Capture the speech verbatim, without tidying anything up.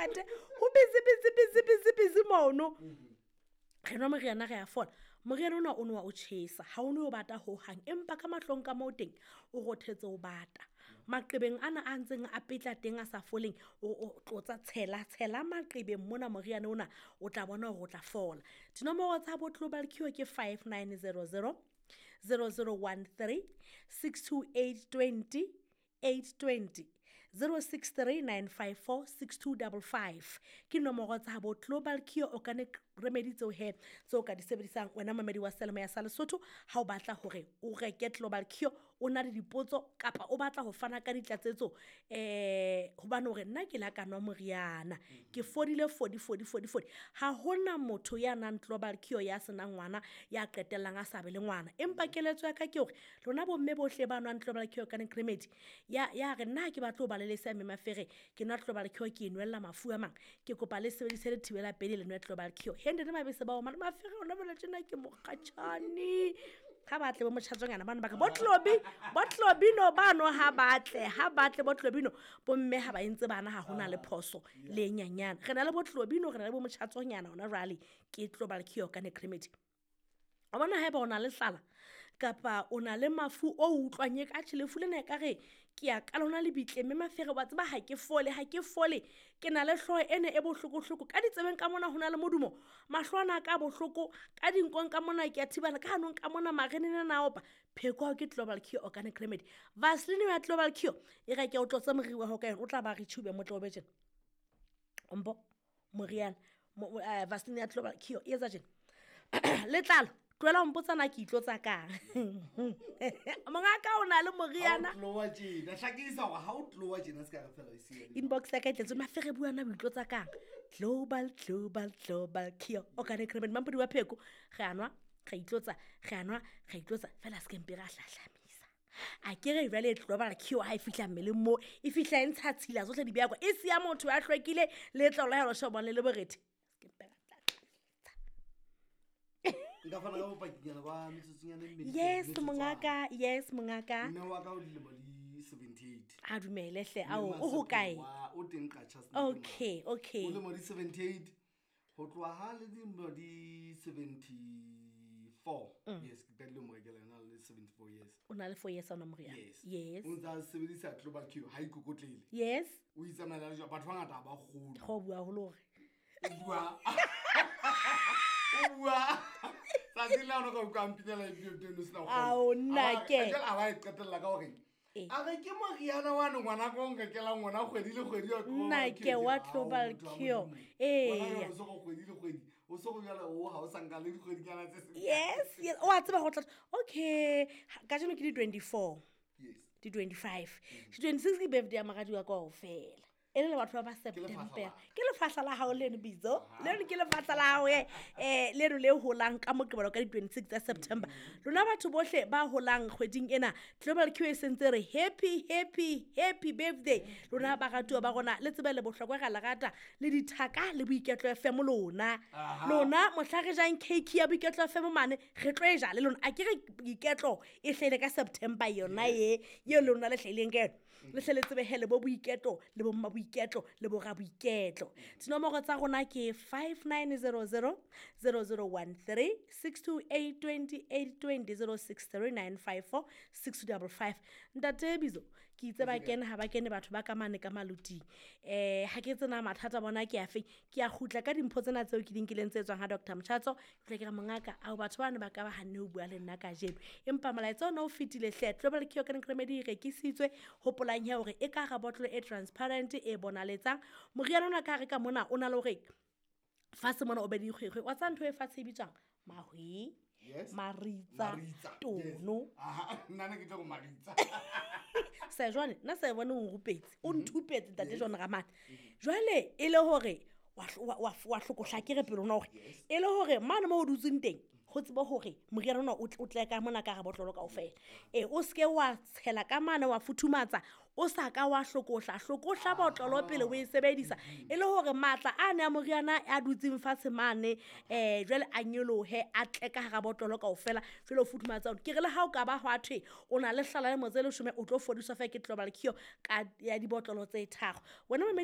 ntate ho busy busy busy busy busy mono re nwa moriana re a fola moriana ona o ne wa o tjhesa ha o ne o bata hohang empa ka mahlong ka moo teng o rothetse o bata maqebeng ana a ntseng a petla teng a sa foleng o o tlotsa tshela tshela maqebeng mona moriana ona o tla bona hore o tla fola dinomoro tsa bo Global Cure ke five nine zero zero zero zero one three six two eight twenty eight twenty zero six three nine five four six two double five ke nomoro tsa bo Global Cure Organic Remedy tseo he tseo ka di sebedisang wena mamedi wa Selemo ya sa Lesotho ha o batla hore o reke Global Cure o na le dipotso kapa o batla ho fana ka ditlatsetso eh hobane hore nna ke la ka nwa moriana ke fodile fodi fodi fodi fodi ha hona motho ya nang Global Cure ya senang ngwana ya qetellang a sa be le ngwana empa keletso ya ka ke hore lona bomme bohle ba nwang Global Cure Organic Remedy ya ya re nna ke batla ho ba le lesea mme mafere ke nwa Global Cure ke inwella mafu a mang ke kopa le sebedise le thibela pele le nwe Global Cure hende le mabese ba o mane mafere ona bole tjena ke mokgatjhane ha batle bo motjhatsonyana bana ba ka bo Tlobi bo Tlobino bano ha batle ha batle bo Tlobino bomme ha ba entse bana ha hona le phoso le nyanyana re na le bo Tlobino re na le bo motjhatsonyana ona rally ke Global Cure Organic Remedy o bona haeba o na le tlala kapa o na le mafu o utlwang e ka tjhe lefu lena e ka re ke ya ka lona lebitle mme mafere wa tseba ha ke fole ha ke fole ke na le hlooho ene e bohlokohloko ka ditsebeng ka mona ho na le modumo mahlo ana ka bohloko ka dinkong ka mona ke a thibana ka hanong ka mona marenene na opa pheko ke Global Cure Organic Remedy Vaseline ya Global Cure e re ke o tlotsa moriri wa hao ka yona o tla ba re tshube motlo o be tjena ombo moriana Vaseline ya Global Cure e etsa tjena letlalo tlohela ho mpotsa na ke itlotsa kang mongaka o na le moriana ha o tloha tjena hlakisa hore ha o tloha tjena se ka re fela o siya inbox ya ka e tletse mafere bua na o itlotsa kang Global Global Global Cure Organic Remedy mampodi wa pheko re a nwa re itlotsa re a nwa re itlotsa fela se ke mpe ra hlahlamisa a ke re jwale Global Cure ha e fihla mmeleng mo e fihla e ntsha tshila tsohle di beya kwa e siya motho ya hlwekile letlalo la hao shobane le borethe se ke mpe ra nka fana ka bopakinyana ba metsotsonyana e mmedi yes mongaka yes mongaka mme wa ka o dilemo di seventy-eight a dumele hle ao o hokae o teng Qacha okay okay o lemo di seventy-eight ho tloha ha le dilemo di seventy-four yes ke qadile mo rekela yona le seventy-four years o na le four years ona moriana yes yes o ntsa sebedisa Global Cure ha ikokotlele yes o itsamaela le batho ba ngata ba kgolo go bua holo hore o bua o bua tsatsi la ona ka utlwa mpinela ebile o sena go ao nna ke a ba e qetella ka hore a re ke moriana wa ne ngwana ka o nrekelang ngwana kgwedi le kgwedi wa nna ke wa Global Cure ee o so go kgwedi le kgwedi o so go jala o ha o sa nka le dikgwedinyana tse yes yes o a tseba go tla okay kajeno ke di twenty-four yes di twenty-five di twenty-six ke birthday ya moradi wa ka kaofela e le batho ba ba September ke lefahla la hao leno bitso leno ke lefahla la hao eh leno le holang ka Moqebelo ka di twenty-six tsa September lona batho bohle ba holang kgweding ena Global Cure e sentse re happy happy happy birthday lona ba ratuwa ba rona le tsebe le bohlokwa ra le rata le dithaka le Boiketlo F M lona lona mohla re jang cake ya Boiketlo F M mane re tlo e ja le lona a ke re Boiketlo e hlele ka September yona ye ye lona le hleleng ka yona le hle le tsebe hele bo Boiketlo le bo mma Boiketlo le bo ra Boiketlo dinomoro tsa rona ke five nine zero zero zero zero one three six two eight twenty eight twenty zero six three nine five four six two five five ntate Bizo ke itse ba kene ha ba kene batho ba ka mane ka maluting eh ha ke tsena mathata bona ke afe ke a kgutla ka dimpho tsena tseo ke di nkileng tse tswang ha Doctor Mchatso ke tla ke re mongaka ao batho bana ba ka ba hanne ho bua le nna kajeno empa molaetsa ona o fetile hle Global Cure Organic Remedy e rekisitswe hopolang ya hore e ka ga bottle e transparent e bonaletsang moriana ona ka re ka mona o na le hore fatshe mona o be dikgwekgwe wa tsa ntho e fatshe e bitswang mahwe yes maritsa tono aha nna ne ke tlo go maritsa se jwale nna se bone o rupetse o nthupetse ntate John Ramane jwale e le hore wa wa wa hlokohla ke re pele ona hore e le hore mane mo o dutseng teng ho tseba hore moriana ona o tle ka mona ka ga botlolo kaofela e o seke wa tshela ka mane wa futhumatsa o sa ka wa hlokohla hlokohla botlolo pele o e sebedisa e le hore matla a ne a moriana a dutseng fatshe mane eh jwale a nyolohe a tle ka hara botlolo kaofela jwale o futhumatsa ke re le ha o ka ba hwa thwe o na le hlala le motse le leshome o tlo fodiswa fa ke Global Cure ka ya dibotlolo tse tharo wena